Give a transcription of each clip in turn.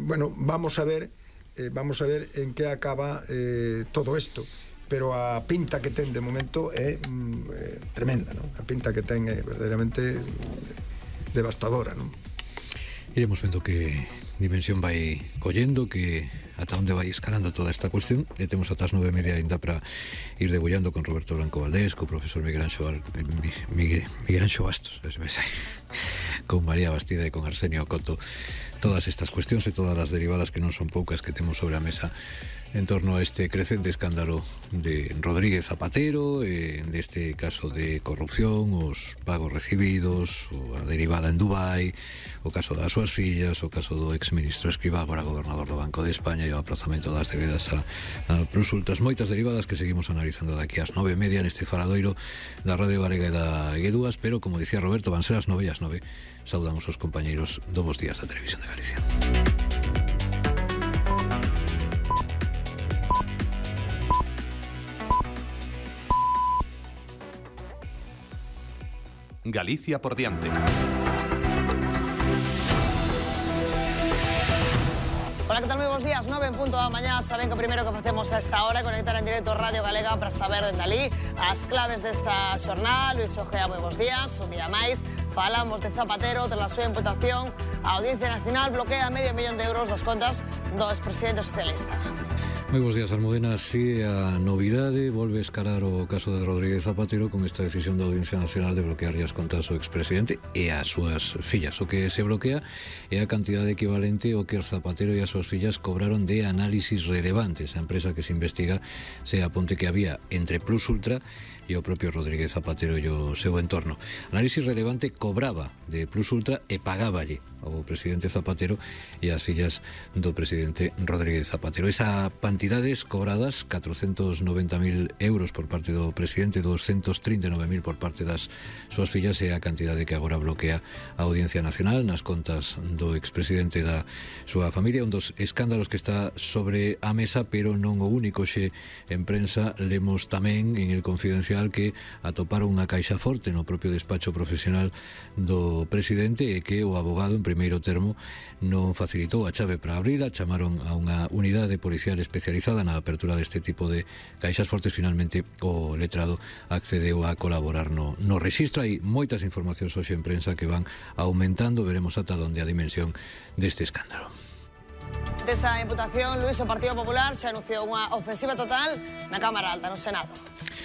Bueno, vamos a ver en que acaba todo isto, pero a pinta que ten de momento é tremenda, non? A pinta que ten é verdadeiramente devastadora, non? Iremos vendo que dimensión vai collendo, que ata onde vai escalando toda esta cuestión, e temos ata as 9:30 ainda para ir debullando con Roberto Blanco Valdés, co profesor Miguel Anxo Bastos, con María Bastida e con Arsenio Coto, todas estas cuestións e todas as derivadas, que non son poucas, que temos sobre a mesa en torno a este crecente escándalo de Rodríguez Zapatero, deste caso de corrupción, os pagos recibidos, a derivada en Dubai, o caso das súas fillas, o caso do exministro Escrivá, agora gobernador do Banco de España, e o aprazamento das debedas a Plusultras. Moitas derivadas que seguimos analizando daqui ás 9:30 neste faradoiro da Radio Galega e da Guedúas, pero, como dicía Roberto, van ser as 9:09. Saudamos os compañeiros do Bos Días da Televisión de Galicia. Galicia por diante. Hola, ¿qué tal? Muy buenos días. 9 en punto da mañá. Saben que o primeiro que facemos a esta hora é conectar en directo Radio Galega para saber dende ali as claves desta xornada. Luis Ojea, moi bons días. Un día máis falamos de Zapatero. Tras a súa imputación, a Audiencia Nacional bloquea €500.000 das contas do expresidente socialista. Moi bons días, Almudena. Si a novidade volve a escalar o caso de Rodríguez Zapatero con esta decisión da Audiencia Nacional de bloquear as contas ao expresidente e as súas fillas. O que se bloquea é a cantidade equivalente ao que Zapatero e as súas fillas cobraron de análisis relevantes. A empresa que se investiga se aponte que había entre Plusultra e o propio Rodríguez Zapatero e o seu entorno. Análisis relevante cobraba de Plusultra e pagáballe ao presidente Zapatero e as fillas do presidente Rodríguez Zapatero. Esa cantidades cobradas, 490.000 euros por parte do presidente, 239.000 por parte das súas fillas, é a cantidade que agora bloquea a Audiencia Nacional nas contas do expresidente da súa familia. Un dos escándalos que está sobre a mesa, pero non o único. Xe en prensa lemos tamén en El Confidencial que atoparon unha caixa forte no propio despacho profesional do presidente e que o abogado en primeiro termo non facilitou a chave para abrila. Chamaron a unha unidade policial especializada na apertura deste tipo de caixas fortes. Finalmente o letrado accedeu a colaborar no rexistro. Hai moitas informacións hoxe en prensa que van aumentando. Veremos ata onde a dimensión deste escándalo. Desa imputación, Luis, o Partido Popular xa anunciou unha ofensiva total na Cámara Alta, no Senado.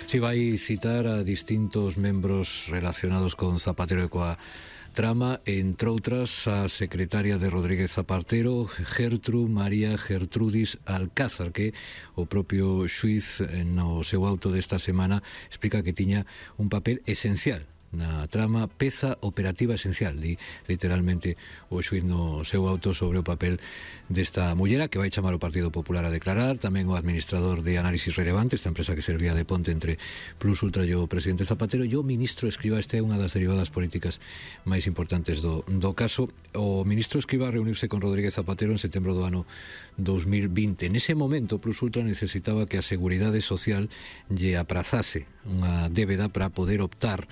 Si vai citar a distintos membros relacionados con Zapatero e coa trama, entre outras a secretaria de Rodríguez Zapatero, María Gertrudis Alcázar, que o propio xuiz no seu auto desta semana explica que tiña un papel esencial na trama, peza operativa esencial, di literalmente o xuiz no seu auto sobre o papel desta mullera, que vai chamar o Partido Popular a declarar. Tamén o administrador de Análisis Relevante, esta empresa que servía de ponte entre Plusultra e o presidente Zapatero, e o ministro Escrivá. Esta é unha das derivadas políticas máis importantes do caso. O ministro Escrivá reuniuse con Rodríguez Zapatero en setembro do ano 2020. Nese momento, Plusultra necesitaba que a Seguridade Social lle aprazase unha débeda para poder optar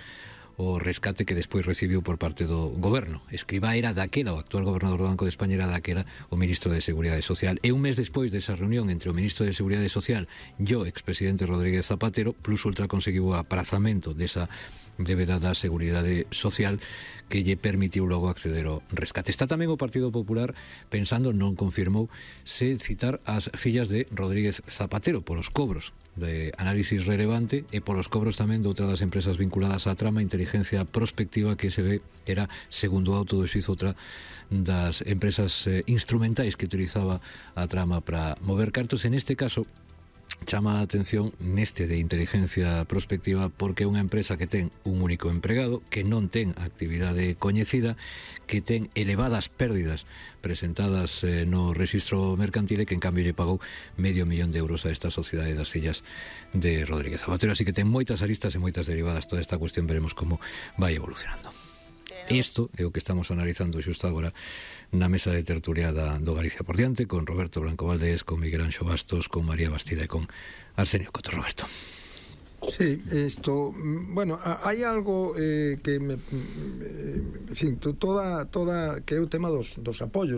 o rescate que despois recibiu por parte do goberno. Escrivá era daquela, o actual gobernador do Banco de España era daquela o ministro de Seguridade Social. E un mes despois desa reunión entre o ministro de Seguridade Social e o expresidente Rodríguez Zapatero, Plusultra conseguiu o aprazamento desa débeda da Seguridade Social que lle permitiu logo acceder ao rescate. Está tamén o Partido Popular pensando, non confirmou, se citar as fillas de Rodríguez Zapatero polos cobros de Análisis Relevante e polos cobros tamén de outra das empresas vinculadas á trama, Inteligencia Prospectiva, que se ve era, segundo o auto do xuiz, outra das empresas instrumentais que utilizaba a trama para mover cartos. En este caso chama a atención neste de Inteligencia Prospectiva porque é unha empresa que ten un único empregado, que non ten actividade coñecida, que ten elevadas pérdidas presentadas no rexistro mercantil e que en cambio lle pagou €500.000 a esta sociedade das fillas de Rodríguez Zapatero. Así que ten moitas aristas e moitas derivadas toda esta cuestión. Veremos como vai evolucionando. Isto é o que estamos analizando xusto agora na mesa de tertulia do Galicia por diante, con Roberto Blanco Valdés, con Miguel Anxo Bastos, con María Bastida e con Arsenio Coto. Roberto. Sí, isto, bueno, hai algo que me, en fin, toda que é o tema dos apoios